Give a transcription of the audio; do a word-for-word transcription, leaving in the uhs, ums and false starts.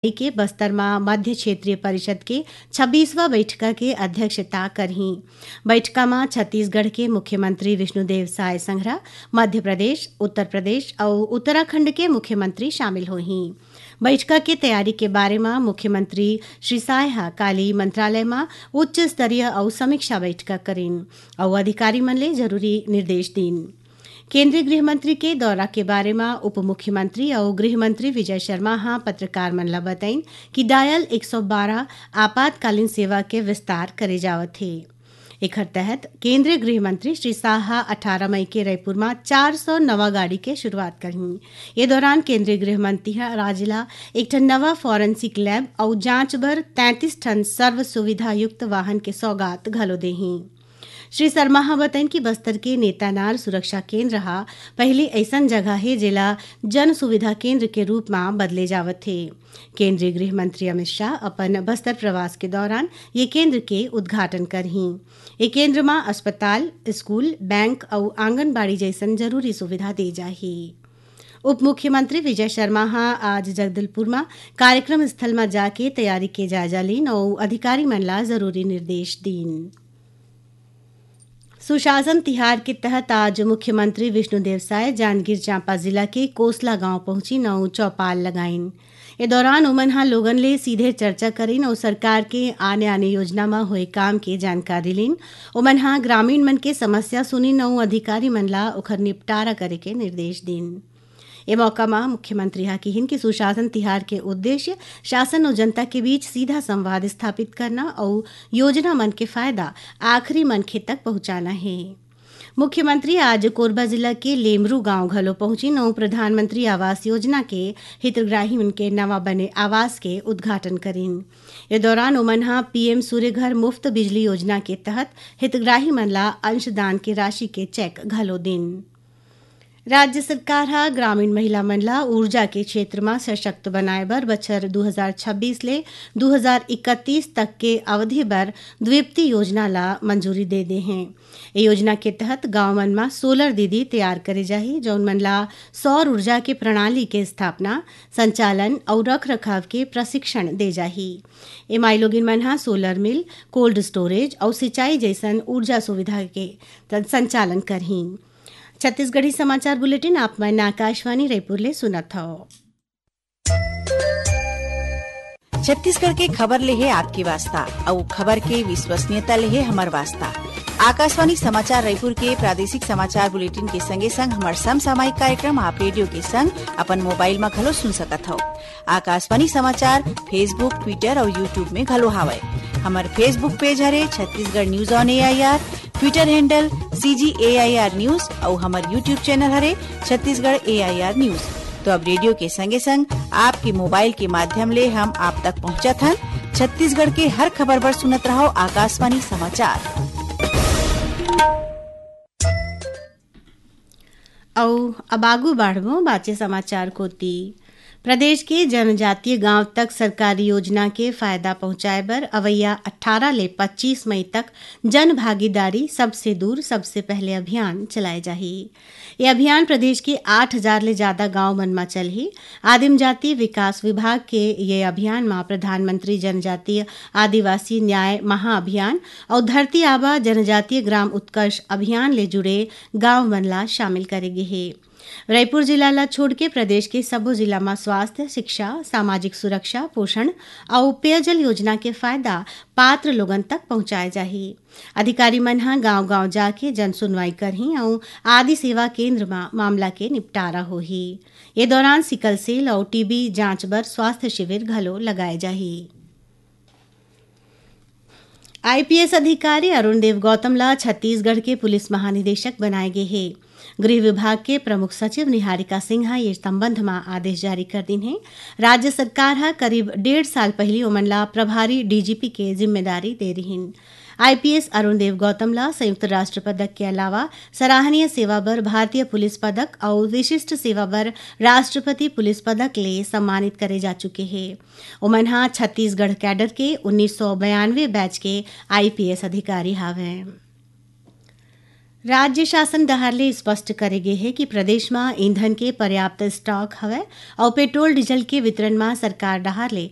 के बस्तर म मध्य क्षेत्रीय परिषद के छब्बीसवाँ बैठका के अध्यक्षता करही। बैठका म छत्तीसगढ़ के मुख्यमंत्री विष्णुदेव साय संघरा, मध्य प्रदेश, उत्तर प्रदेश अउ उत्तराखंड के मुख्यमंत्री शामिल होही। बैठका के तैयारी के बारे म मुख्यमंत्री श्री साय ह काली मंत्रालय म उच्च स्तरीय अउ समीक्षा बैठका करिन अउ अधिकारी मन ले जरूरी निर्देश दीन। केंद्रीय गृह मंत्री के दौरा के बारे म उप मुख्यमंत्री अउ गृह मंत्री विजय शर्मा ह पत्रकार मन ल बतइन कि डायल एक सौ बारह आपातकालीन सेवा के विस्तार करे जावत हे। एखर तहत केंद्रीय गृह मंत्री श्री शाह ह अठारह मई के रईपुर म चार सौ नवा गाड़ी के शुरुआत करही। ये दौरान केंद्रीय गृह मंत्री ह राज्य ल एक ठन नवा फॉरेंसिक लैब अउ जांच बर तैंतीस ठन सर्व सुविधा युक्त वाहन के सौगात घलो देही। श्री शर्मा ह बतइन कि बस्तर के नेतानार सुरक्षा केंद्र ह पहिली अइसन जगह हे, जेला जन सुविधा केंद्र के रूप म बदले जावत हे। केंद्रीय गृह मंत्री अमित शाह अपन बस्तर प्रवास के दौरान ये केंद्र के उद्घाटन करही। ये केंद्र म अस्पताल, स्कूल, बैंक अउ आंगनबाड़ी जइसन जरूरी सुविधा दे जाही। उप मुख्यमंत्री विजय शर्मा ह आज जगदलपुर म कार्यक्रम स्थल म जाके तैयारी के जायजा लीन अउ अधिकारी मन ला जरूरी निर्देश दीन। सुशासन तिहार के तहत आज मुख्यमंत्री विष्णुदेव साय जांजगीर चांपा जिला के कोसला गांव पहुंचिन अउ चौपाल लगाइन। ए दौरान ओमन ह लोगन ले सीधे चर्चा करिन अउ सरकार के आने-आने योजना म होए काम के जानकारी लीन। ओमन ह ग्रामीण मन के समस्या सुनिन अउ अधिकारी मन ला ओखर निपटारा करे के निर्देश दीन। ए मौका म मुख्यमंत्री ह किहिन कि सुशासन तिहार के उद्देश्य शासन अउ जनता के बीच सीधा संवाद स्थापित करना अउ योजना मन के फायदा आखिरी मनखे तक पहुंचाना हे। मुख्यमंत्री आज कोरबा जिला के लेमरू गांव घलो पहुंचिन अउ प्रधानमंत्री आवास योजना के हितग्राही मन के नवा बने आवास के उद्घाटन करिन। ए दौरान ओमन ह पीएम सूर्य घर मुफ्त बिजली योजना के तहत हितग्राही मन ला अंशदान के राशि के चेक घलो दिन। राज्य सरकार ह ग्रामीण महिला मन ला ऊर्जा के क्षेत्र म सशक्त बनाए बर बछर दू हजार छब्बीस ले दू हजार इकतीस तक के अवधि बर द्वीप्ति योजना ला मंजूरी दे दे हे। ए योजना के तहत गांव मन म सोलर दीदी तैयार करे जाही, जौन मन ला सौर ऊर्जा के प्रणाली के स्थापना, संचालन अउ रखरखाव के प्रशिक्षण दे जाही। ए माईलोगिन मन ह सोलर मिल, कोल्ड स्टोरेज अउ सिंचाई जइसन ऊर्जा सुविधा के त-, संचालन करही। छत्तीसगढ़ी समाचार बुलेटिन आप मन आकाशवाणी रायपुर ले सुनत हव। छत्तीसगढ़ के खबर ले हे आपके वास्ता, अउ खबर के विश्वसनीयता ले हे हमर वास्ता। आकाशवाणी समाचार रायपुर के प्रादेशिक समाचार बुलेटिन के संगे संग हमर समसामयिक कार्यक्रम आप रेडियो के संग अपन मोबाइल म घलो सुन सकत हव। आकाशवाणी समाचार Facebook, Twitter अउ YouTube में घलो हावय। हमर Facebook पेज हरे Chhattisgarh news on AIR, Twitter handle CG AIR news अउ हमर YouTube चैनल हरे छत्तीसगढ़ एआईआर न्यूज। तो अब रेडियो के संगे संग आपके मोबाइल के माध्यम ले हम आप तक पहुंचत हन। छत्तीसगढ़ के हर खबर बर सुनत रहव आकाशवाणी समाचार। अउ अब आगू बाढ़बो बाचे समाचार कोति। प्रदेश के जनजातीय गांव तक सरकारी योजना के फायदा पहुंचाए बर अवइया अट्ठारह ले पच्चीस मई तक जन भागीदारी सबसे दूर सबसे पहले अभियान चलाए जाही। ये अभियान प्रदेश के आठ हजार ले ज्यादा गांव मन म चलही। आदिम जाति विकास विभाग के ये अभियान म प्रधानमंत्री जनजातीय आदिवासी न्याय महाअभियान अउ धरती आबा जनजातीय ग्राम उत्कर्ष अभियान ले जुड़े गांव मन ला शामिल करे गे हे। रायपुर जिला ला छोड़ के प्रदेश के सबो जिला म स्वास्थ्य, शिक्षा, सामाजिक सुरक्षा, पोषण अउ पेयजल योजना के फायदा पात्र लोगन तक पहुंचाए जाही। अधिकारी मन ह गांव-गांव जाके जन सुनवाई करही अउ आदि सेवा केंद्र म मामला के निपटारा होही। ये दौरान सिकल सेल अउ टीबी जांच बर स्वास्थ्य शिविर घलो लगाए जाही। आईपीएस अधिकारी अरुण देव गौतम ला छत्तीसगढ़ के पुलिस महानिदेशक बनाए गे हे। गृह विभाग के प्रमुख सचिव निहारिका सिंह ह ये संबंध म आदेश जारी कर दिन हे। राज्य सरकार ह करीब डेढ़ साल पहिली ओमन ला प्रभारी डीजीपी के जिम्मेदारी दे रिहिन। आईपीएस अरुण देव गौतम ला संयुक्त राष्ट्र पदक के अलावा सराहनीय सेवा बर भारतीय पुलिस पदक अउ विशिष्ट सेवा बर राष्ट्रपति पुलिस पदक ले सम्मानित करे जा चुके हे। ओमन ह छत्तीसगढ़ कैडर के उन्नीस सौ बयानवे बैच के आईपीएस अधिकारी हावयं। राज्य शासन डहार ले स्पष्ट करे गे हे कि प्रदेश म ईंधन के पर्याप्त स्टॉक हवय अउ पेट्रोल डीजल के वितरण म सरकार डहार ले